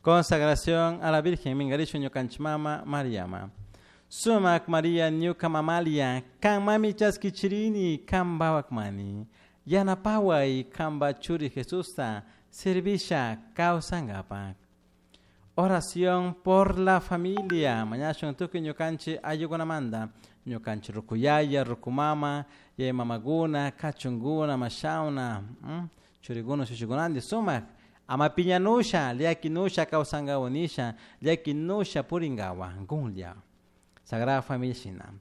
Consagración a la Virgen mingarishun ñukanchik mama Mariama. Sumak Maria ñuka mamalia, kan mami chaskichirini, kan bawakmani. Yanapaway kanpa churi Jesusta servisha kawsankapak. Oración por la familia. Mañashun tukuy ñukanchik ayllukunamanta. Ñukanchik rukuyaya, rukumama, yaya mamaguna, kachunguna, mashawna, churikuna, shushikunanti sumak. Ama piñanusha, llakinusha kawsankawa nisha, llakinusha purinkawa, gunlla. Sagrada Familia shina.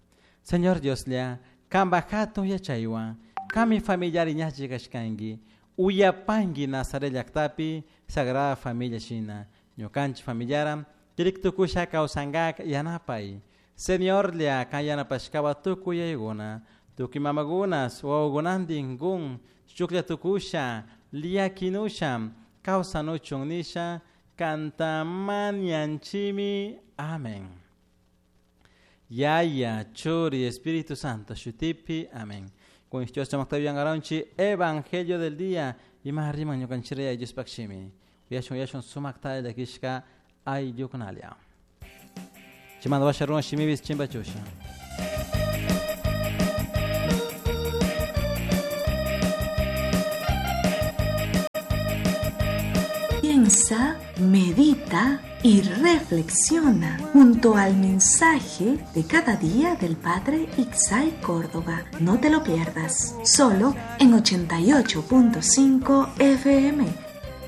Señor Dioslla, kanpa hatun yachaywan, kami familiari ñachi kashkanki, uyapanki Nazaret llaktapi Sagrada Familia shina. Ñukanchik familiara, kirik tukusha kawsankak yanapay. Señorlla, kan yanapashkawa tukuy yaykuna, tukuy mamakuna, wawakunantin gun, shuklla tukusha, llakinusha, kawsanuchun nisha, kanta mañanchimi. Amén. Yaya, Churi, Espíritu Santo, shutipi. Amén. Con Dios Garonchi, Evangelio del día. Y más arriba, ñukanchireya, Dios pakshimi. Uyashun, uyashun, sumakta de kishka, ayllukunalia. Chimando washarun, shimibis, chimbachusha. Piensa, medita y reflexiona junto al mensaje de cada día del Padre Ixay Córdoba. No te lo pierdas, solo en 88.5 FM.